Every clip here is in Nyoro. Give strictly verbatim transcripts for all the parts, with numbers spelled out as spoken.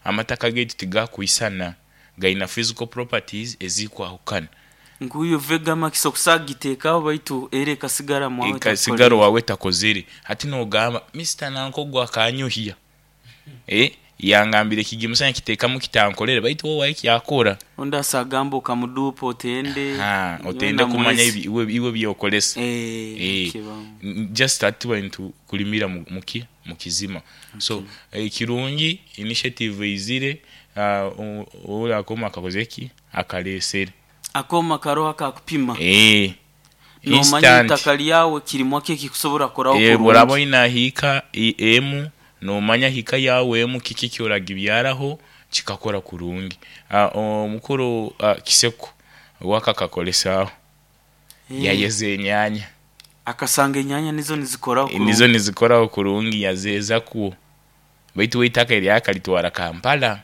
Amataka gaitu tigakwisana, gaina physical properties ezikwahukana. Nkuyo Vegamax okusagiteekaho, baitu era ekasigara mwawe. Ekasigara wawe takozere. Hati nogamba Mister Nankogo akanyohya, eh yangambire ekigimusa nkiteekamu kitankolere, baitu wowe wae kyakora. Ondi asagamba okamudupa otende. Ha, otende kumanya iwe iwe byokolesa. Eh, eh just ati tuba nitukulimira muki mukizima. So ekirungi, initiative eizire, uh, akoma akakoze ki akalesere. Akoma karoho akakupima. Eh nomanya itaka lyawe kirimwa ki ekikusobora kukoraho. Eh bworaba oyina hiika emu, nomanya hika yawe emu kiki ekyoragibyaraho kikakora kurungi. Omukuru Kiseko wakakakolesaho, yayeza enyanya. Akasanga enyanya nizo nizikoraho kurungi. Nizo nizikoraho kurungi, yazeeza kwo, baitu we itaka eryo akalitwara Kampala,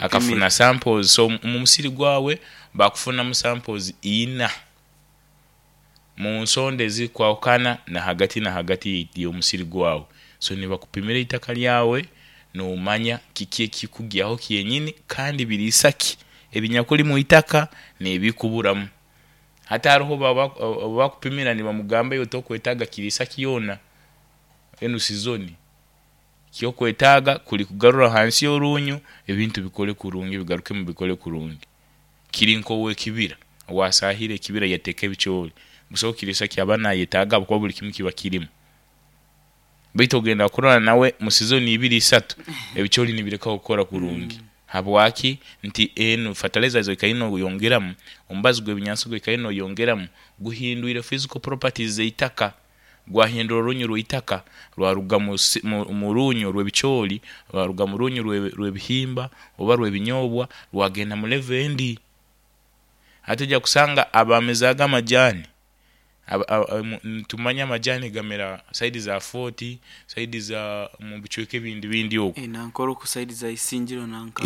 akafuna samples. So mu musiri gwawe bakufunamu samples ina mu nsonda ezikwahukana na hagati na hagati y'omusiri gwawe. So nibakupimira itaka lyawe, nomanya kiki ekikugyaho kyenyini, kandi biriisa ki ebinyakuli mwitaka n'ebikuburamu. Hati haroho obu bakupimira nibamugamba, iwe tokwetaaga kiriisa kyona enu sizoni, ekyokwetaaga kuli kugarra hansi orunyo, ebintu bikole kurungi, bigarukemu bikole kurungi. Kiri nk'owekibira owasaahire ekibira yateeka ebicooli, busaho kiriisa kyaba nayetaaga habwokuba buli kimu kiba kirumu, baitu ogenda kurora nawe mu sizoni ibiri, isatu, ebicooli nibirekaho kukora kurungi. Habwaki? Nti enu fertilizer zoikaire noyongeramu, omubazi gw'ebinyansi ogwoikaire noyongeramu guhindwire physical properties z'itaka, gwahindura orunyo rw'itaka, rwaruga mu runyo rw'ebicooli, rwaruga mu runyo rw'ebihimba oba rw'ebinyobwa, rwagenda mu level endi. Hati ojya kusanga abamezaaga amajaani, nitumanya amajaani gamera side za Fort, side za mubicweka ebindi bindi oku. Nankora oku side za Isingiro nanka.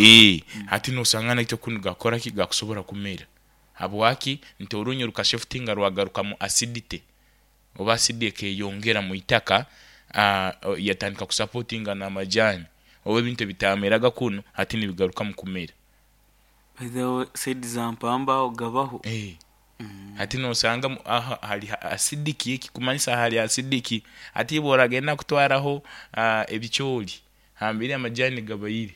Hati nosanga naitwe kunu gakora ki, gakusobora kumera. Habwaki? Nti orunyo rukashiftinga, rwagaruka mu acidity, oba acid ekeyongera mwitaka, yatandika kusupportinga n'amajaani, oba ebintu ebitameraga kunu hati nibigarukamu kumera. By the way, side za Mpamba aho gabaho. Hati nosanga aha hali acidic, ekikumanyisa hali acidic. Hati iwe oragenda kutwaraho ebicooli hambere amajaani gabaire,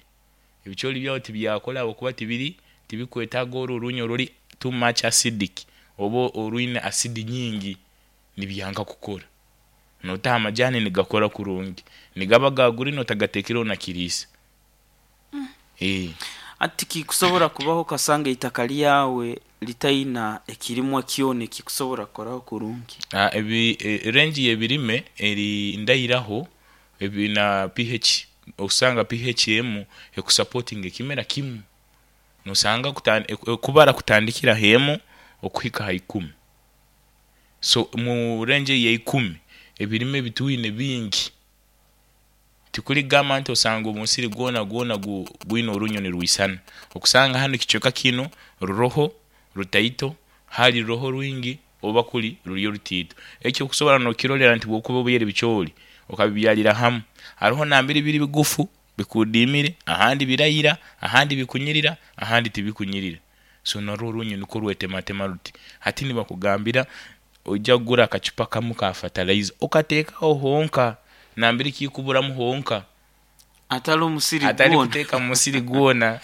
ebicooli byawe tibyakora habwokuba tibiri tibikwetaaga oru orunyo oruli too much acidic oba orwine acid nyingi, nibyanga kukora. Notaho amajaani nigakora kurungi, nigaba ga green otagateekireho na kiriisa. Hati kikusobora kubaho okasanga itaka lyawe litaina ekirimwa kyona ekikusobora kukoraho kurungi? Range y'ebirime eri ndairaho na P H. Osanga P H emu ekusupportinga ekimera kimu, nosanga kubara kutandikira h'emu okuhika ha ikumi. So mu range eya ikumi, ebirime ebitwine bingi, tikuli kugamba nti osanga omusiri gwona gwona gwine orunyo nirwisana. Okusanga hanu ekicweka kinu ruroho rutaito, hari ruroho rwingi oba kuli ruriyo rutaito. Eki okusobora nokirorra nti obu okuba obyaire ebicooli okabibyarra hamu, haroho nambere biri bigufu bikuudimire, ahandi biraira, ahandi bikunyirira, ahandi tibikunyirira. So narwo orunyo nukwo rwetematema ruti. Hati nibakugambira oija kugura akacupa kamu ka fertilizer okateeke aho honka nambere kikuburamu honka. Hatali omusiri hatali gwona. Kuteeka mumusiri gwona.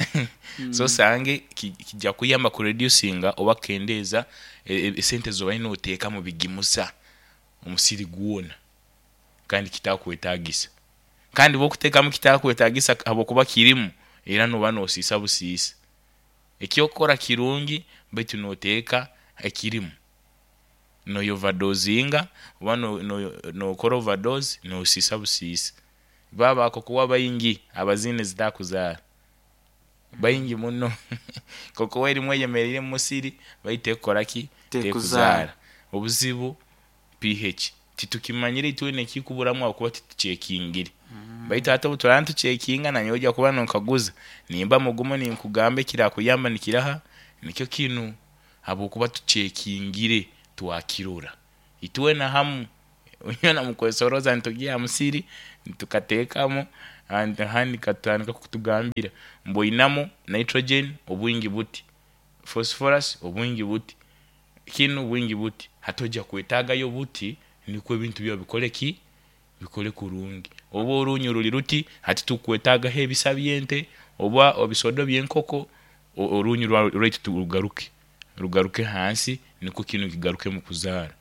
So osange kijja kuyamba kureducinga oba kukendeeza esente zobaire noteeka mubigimusa omusiri gwona kandi kitakwetaagisa, kandi obu okuteekamu kitakwetaagisa habwokuba kirimu, era nooba nosiisa busiisa. Ekyokukora kirungi, baitu noteeka ekirimu noya overdosinga oba nokora overdose, nosiisa busiisa. Bo aba cocoa baingi abaziine ezitakuzaara baingi muno. Cocoa erimu eyemeriire mumusiri baitu tekukora ki? Tekuzaara. Obuzibu P H titukimanyire itwena ekikuburamu habwokuba titukyekingire, baitu hati obu turaaba nitucekinga, nanyowe oija kuba nonkaguza nimba mugumu ninkugamba ekirakuyamba nikiraha, nikyo kinu, habwokuba tucekingire twakirora itwena hamu, inywena mukwesorooza nitugiiha ha musiri tukateekamu. Handi katandika kutugambira mbu oinamu nitrogen obwingi buti, phosphorus obwingi buti, kinu bwingi buti, hati ojja kwetaagayo buti nikwo ebintu byawe bikole ki, bikole kurungi. Oba orunyo ruli ruti, hati tukwetaagaho ebisa by'ente oba ebisodo by'enkoko, orunyu rwaitu rugaruke rugaruke hansi nikwo kinu kigarukemu kuzaara.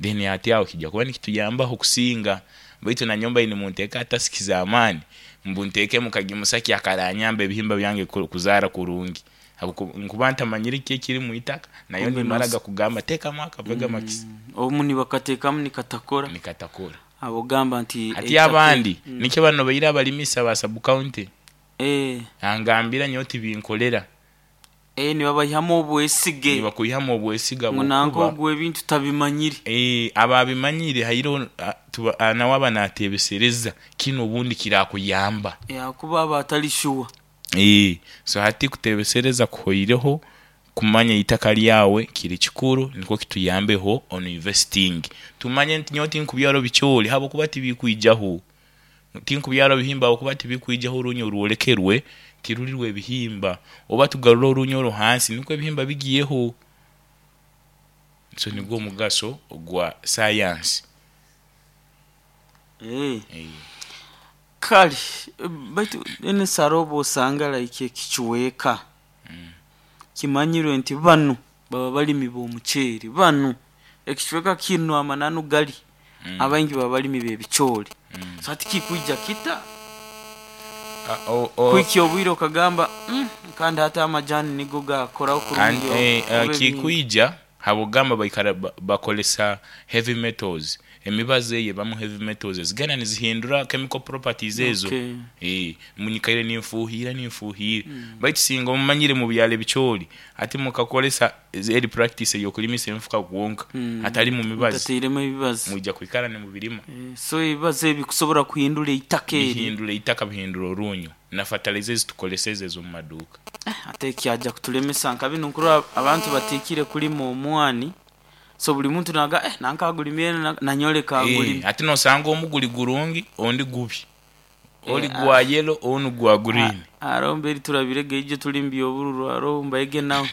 Then hati aho kijja kuba nikituyambaho kusinga, baitu nanyowe mbaire nimunteekaho tasks z'amaani mbu nteekemu kagimusa ki akaranyamba ebihimba byange kuzaara kurungi, habwokuba nkuba ntamanyire kiki ekiri mwitaka, nayo nimaraga kugamba teekamu aka Vegamax. Obumu nibakateekamu nikatakora, nikatakora abogamba nti hati abandi nikyo bano baire abalimisa ba sub county eh angambira nyowe tibinkolera eh nibabayihamu obwesige, nibakwihamu obwesiga ngu nanka ogwo ebintu tabimanyire. Eh, ababimanyire hairo nawe aba nateebesereza kinu obundi kirakuyamba yakuba aba atali sure. Eh, so hati kuteebesereza kuhoireho, kumanya itaka lyawe kiri kikuru nikwo kituyambeho on investing. Tumanye nti nyowe tinkubyara ebicoori habwokuba tibikwijaho, tinkubyara ebihimba habwokuba tibikwijaho, orunyo rwolekerwe tiruri rw'ebihimba, oba tugarure orunyo oru hansi nikwo ebihimba bigiyeho. So nigwo omugaso ogwa science. Eh. Kale baitu enesara oba osanga like ekichweka kimanyirwe nti banu baba balimi b'omuceeri, banu ekichweka kinu amananu gali abaingi baba balimi b'ebicoori. So hati kikwija kita kwikya obwire okagamba kandi hati amajani nigo gakoraho kurungi. Kikwija habwokugamba baikara bakozesa heavy metals, emibazi eyo ebamu heavy metals ezigenda nizihindura chemical properties ezo. Eh, munyikaire ninfuuhira ninfuuhira, baitu singa omumanyire mubyara ebicoori, hati mukakozesa eri practice ey'okulimisa enfuka kwonka hatalimu mibazi, mutateiremu ebibazi, mwija kwikara nimubirima. So ebibazi ebi kusobora kuhindura eitaka eri, bihindura eitaka, bihindura orunyo na fertilizer ezitukoleseze ez'omu maduuka. Ate kyaja kutulemesa nka binu nkurora abantu batikire kulima omwani, so buli muntu naga eh nanka agulimye nanyoleka agulime. Ati nosanga omuguli gurungi ondi gubi, oli gwa yellow onu gwa green. Aro mberi turabirege ije tulimbi obururu aro mbaige nawe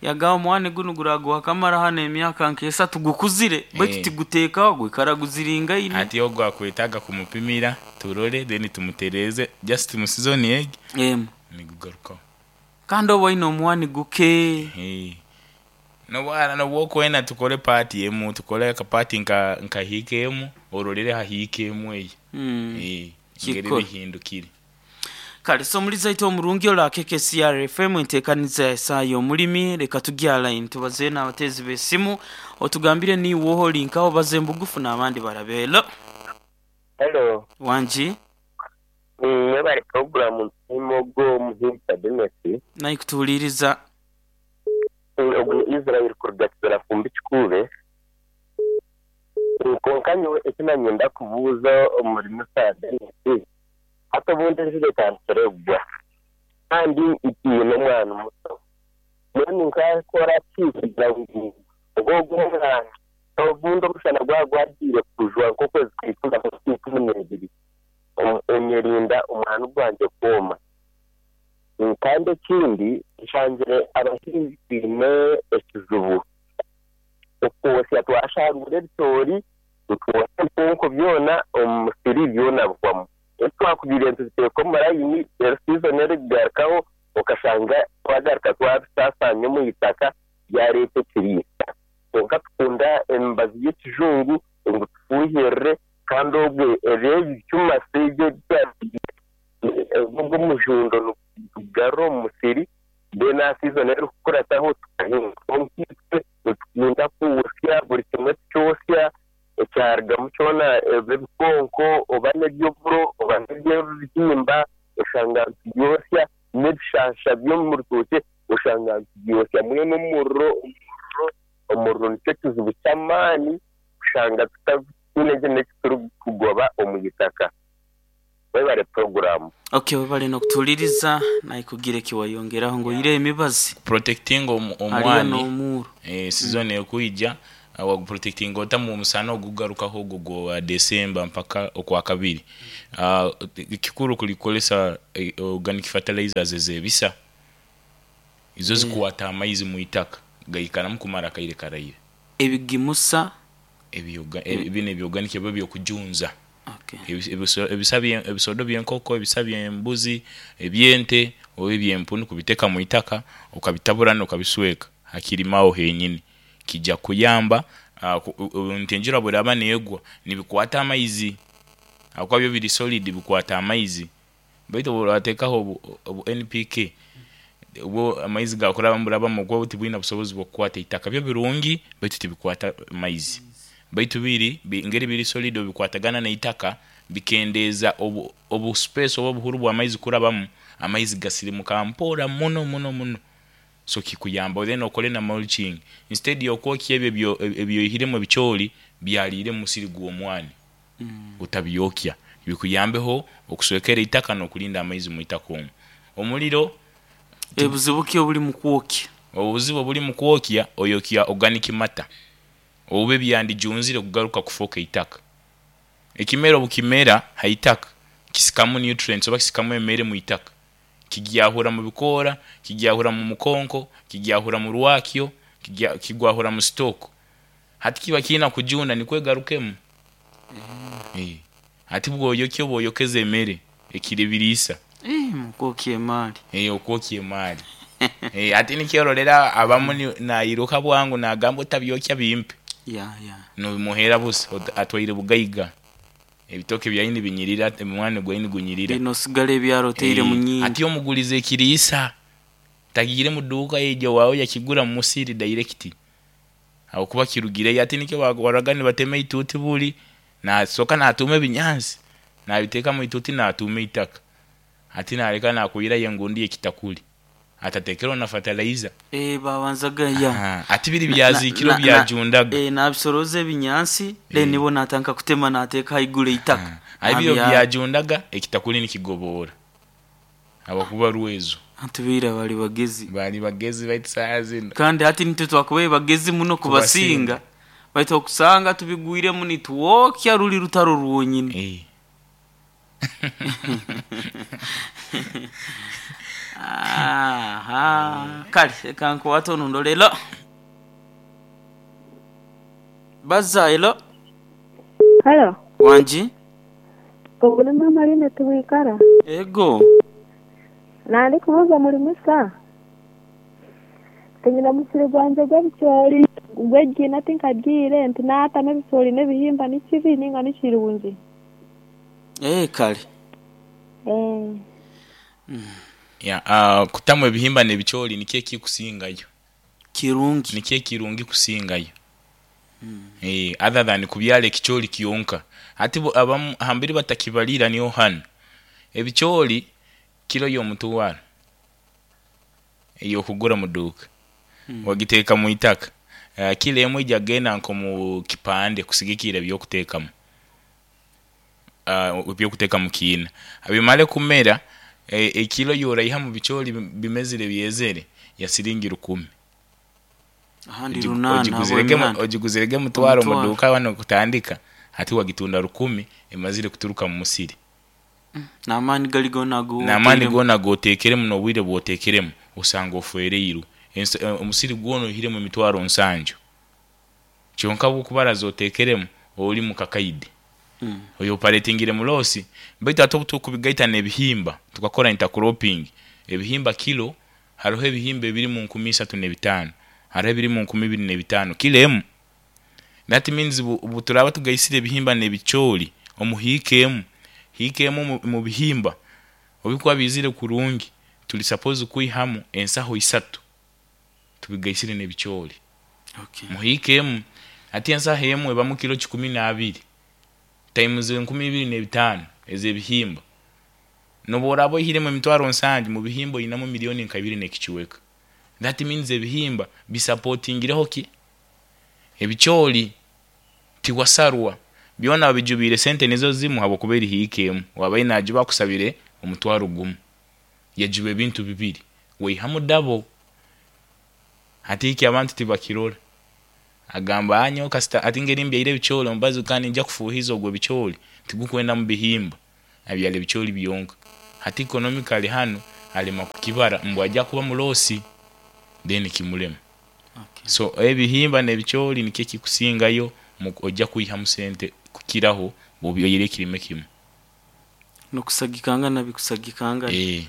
yaga omwani gunu guragwa kamara hano emyaka nk'esatu tugukuzire baitu tiguteekaho gwikara guziringaine. Ati ogwo akwetaaga kumupimira turole then tumutereze just mu season egi emu nigugarukaho. Kandi oba oine omwani guke nobwara nobwokwenda tukole party emu, tukole akapati nka nka emu orolere hahiika emu eyo ngeri bihindukire. Kale so muliza ito omurungi ola K K C R F M enteekaniza esaayo omulimi, leka tujya line tubaze n'abatezi b'essimu otugambire ni woho linkaho baze mbugufu n'abandi barabe. Hello. Hello. Wanji mwebale program ntimogo muhinta Dennis naikutuuliriza ogu Israel kuruga kizara fumbi kikube konka nyowe ekinanyenda kubuuza omulimisa Dennis hati obundi enjura etandikire kugwa kandi ntiine omwana muto mbwenu nkakora ki kugira ngu ogwo omwana obundi omushana gwaba gwagiire kujwa nk'okwezi kwikumi ikumi n'ebiri onyerinda omwana gwangye kwoma. Kandi ekindi nshangire abahinzi twine ekizibu okwosya twashangura ebicoori tutwosya ebikonko byona omu musiri byona bihwamu twakubire ntuziteeka omu layini rero season erikugarukaho okashanga twagaruka twabisaasaanya omu itaka byareeta ekiriisa. Konka tukunda emibazi y'ekijungu ngu tufuuhirire kandi obwe eby'ebikyuma ebyo ogw'omujundo nitugarura omu musiri then aha season erikukurataho tukahinga. Konka itwe nitukunda kwosya buri kimwe tukyosya ekyarugamu kyona ebikonko oba n'ebyoburo oba n'ebyebihimba oshanga nitubyosya n'ebishansha by'omu rutookye oshanga nitubyosya mbwenu omuriro omuriro omuriro nikyo kizibu ky'amaani kushanga tutaine n'eki turikugoba omu itaka. Webale program. Okay, webale n'okutuuliriza naikugira ekiwayongeraho ngu oire emibazi protecting omwani eh season ekwija Waguprotectinga ota mu musana ogugarukaho ogwo gwa December mpaka okwa kabiri. uh, kikuru kulikolesa eh, organic fertilizers ezebisa izo zikwata amaizi mu itaka, gaikaramu kumara akaire karaire. Ebigimusa? Ebyoga eh, bino ebyorganic eba byokujunza. Okay. Ebi- ebiso- ebisa bye- ebisodo byenkoko, ebisa byembuzi, ebyente oba ebyempunu, kubiteka mu itaka, okabitabura nokabisweka hakirimaho henyini, kijja kuyamba uh, ku- u- nti enjura bweraba negwa nibikwata amaizi, akuba byo biri solid, bikwata amaizi. Baitu bworatekaho obu, obu N P K, obwo amaizi gakuraba murabamu, kuba tibwina busobozi bwokukwata itaka. Byo birungi, baitu tibikwata maizi. Baitu biri bi- ngeri biri solid, bikwatagana n'itaka, bikendeeza obu, obu space oba obuhuru bw'amaizi kurabamu. Amaizi gasirimuka mpora muno muno muno, so kikuyamba. Then okole na mulching instead yokwokya ebyo ebyo- ebyoihiremu ebikyoli byaliire mu musiri gw'omwani. Mm. Utabyokya, bikuyambeho okuswekera itaka n'okulinda amaizi mu itaka omwo. Omuliro, Ebuzibu ki obuli mu kwokya? Obuzibu obuli mu kwokya, oyokya organic matter oba ebyandijunzire kugaruka kufuuka itaka. Ekimera obukimera ha itaka, kisikamu nutrients oba kisikamu emere mu itaka, kigyahura mu bikoora, kigyahura mu mukonko, kigyahura mu rwakyo, kigya- kigwahura mu stalk. Hati kiba kiina kujunda nikwegarukemu. Eh. Hati bwoyokya oba oyokeza emere ekiri biriisa. Eh, mukwokya emaali. Eh, okwokya emaali. Eh, ati nikyorolera abamu ni- nayiruka bwangu nagamba otabyokya bimpe. Ya ya. Nobimuhera busa, ot- atwaire bugaiga, ebitoke byaini binyirira, omwani gwaini gunyirira. Lino osigala ebyaro oteire mu Eh, nyingi. Ati omuguliza ekiriisa, tagiire mu duuka yejo wawe, yakigura mu musiri direct aho kuba kirugireyo. Ati nikyo waraga nibatema ituuti, buli nasoka natuma ebinyansi nabiteeka mu ituuti, natuma itaka, ati naleka nakwirayo engundi yekitakuli atatekereho na fertilizer. Eh, babanzaga ya. Aha, ati biri Na- byazikiro na- na- byajundaga. Eh, nabisoroza ebinyansi, then nibo natanka kutema, nateeka haiguru eitaka. Ayi byo Nabyara. byajundaga, ekitakuli nikigobora abakuba rwezo. Antu beira bali bagezi. Bali bagezi, baitu saa zino Kandi hati nitwe twakubaye bagezi muno kubasinga, Kubasinga. baitu okusanga tubigwiremu nitwokya ruli rutaro rwonyini. Eh. Aha, kale reka nkuwate onundo lero baza elo. Halo, Wangi. Obuli mama line tuwikara. Ego. Nandi kubuza mulimisa. Tinyina musiri gwanje gw'ebicoori gw'egina, tinkagiire nti naatama ebicoori n'ebihimba nikibi ninga nikirungi? Eh, kale. Eh. Ya, uh, kutamu ebihimba n'ebicoori nikyo ekikusingayo. Kirungi. Nikyo ekirungi kusingayo, eh, other than kubyala ekicoori kyonka. Ati bo- abamu hambiri batakibalira niho hano ebicoori kilo y'omutwaro ey'okugura mu duuka, wagiteeka mu itaka, uh, kilo emwe ijja genda nko mu kipande kusigikira ebyokuteekamu, uh, ebyokuteeka mu kiina bimale kumera. e, ekilo yoraiha mu bicoori bimezire byezere ya siringi rukumi. Ahandi Ogigu- runana. ogiguzirege mu- Habw'eminana. Ogiguzirege mutwaro mu Omutwaro. duuka wano kutandika, ati wagitunda rukumi emazire kuturuka mu musiri. N'amaani gali gona go. N'amaani goona goteekeremu n'obwire bwoteekeremu, osanga ofwereiru. Ensi- eh, omusiri gwona oihiremu emitwaro nsanju, kyonka bwokubaraza oteekeremu oli mu kakaide, Mm. oyo operatingire mu loss. Baitu ate obu tukubigaita n'ebihimba tukakora intercropping, ebihimba kilo, hariho ebihimba ebiri mu nkumi isatu n'ebitaano, hariho ebiri mu nkumi ibiri n'ebitaano kilo emu. That means bu, bu turaba tugaisire ebihimba n'ebicoori omu hiika emu, hiika emu mu, mu bihimba obikuba bizire kurungi, tuli suppose kwihamu ensaho isatu tubigaisire n'ebicoori. Okay. Muhiika emu, ati ensaho emu ebamu kilo kikumi n'abiri times enkumi ibiri n'ebitaano ez'ebihimba, noba oraba oihiremu emitwaro nsanju mu bihimba, oyinamu miliyoni nka ibiri n'ekichweka. That means ebihimba bisupportingireho ki ebicoori, tiwasarwa, byona babijubiire sente nizo zimu, habwokuba eri hiika emu wabaire nagiba akusabire omutwaro gumu, yajuba ebintu bibiri, waihamu double. Hati iki abantu tibakirora. Agamba anyo kasita ati ngeri mbyaire ebicooli omubazi kandi nja kufuuhiza ogwo ebicooli tigukwenda mu bihimba, abyara ebicooli byonka. Hati economically hanu alema kukibara ngu ajja kuba mu loss, then kimulema. Okay. So ebihimba n'ebicooli nikyo ekikusingayo mu- ojja kwihamu sente kukiraho bw'obyaire ekirime kimu. Nokusagikangana bikusagikangana. Eh.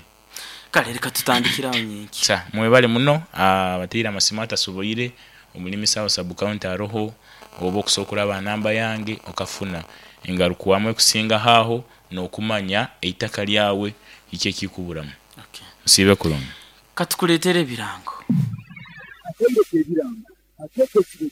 Kale reka tutandikire aho nyenki. Sa mwebale muno abateire amasimu atasoboire omulimisa aho sub county aroho, oba okusobola okuraba aha namba yange okafuna engarukwamu ekusingaho aho n'okumanya eitaka lyawe kiki ekikuburamu. Okay. Nsiibe kurungi. Katukuleetere ebirango. Akaire k'ebirango akeeka ekirezi.